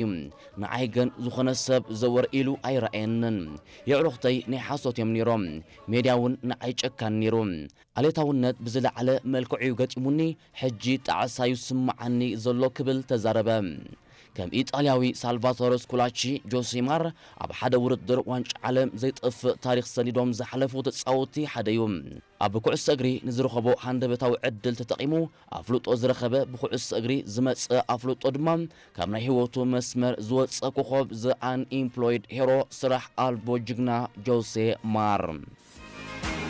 እዩ። ንዓይ ግን ዝኾነ ሰብ ዘወር ኢሉ ኣይረኣየንን። የዕሩኽተይ ናይ ሓሶት እዮም ነይሮም። ሜድያ እውን ንዓይ ጨካን ነይሩ። ኣሌታውነት ብዝለዓለ መልክዑ እዩ ገጢሙኒ፣ ሕጂ ጣዕሳ እዩ ዝስምዓኒ ዘሎ ክብል ተዛረበ። ከም ኢጣልያዊ ሳልቫቶረ ስኩላቺ፣ ጆሴ ማር ኣብ ሓደ ውድድር ዋንጫ ዓለም ዘይጠፍእ ታሪኽ ሰኒዶም ዝሓለፉ ተጻወትቲ ሓደ እዩ። ኣብ ኩዕሶ እግሪ ንዝረኸቦ ሃንደበታዊ ዕድል ተጠቒሙ ኣፍልጦ ዝረኸበ፣ ብኩዕሶ እግሪ ዝመጸ ኣፍልጦ ድማ ካብ ናይ ህይወቱ መስመር ዝወጸ ኮኾብ፣ ዘ ኣንኢምፕሎይድ ሄሮ፣ ስራሕ ኣልቦ ጅግና ጆሴ ማር።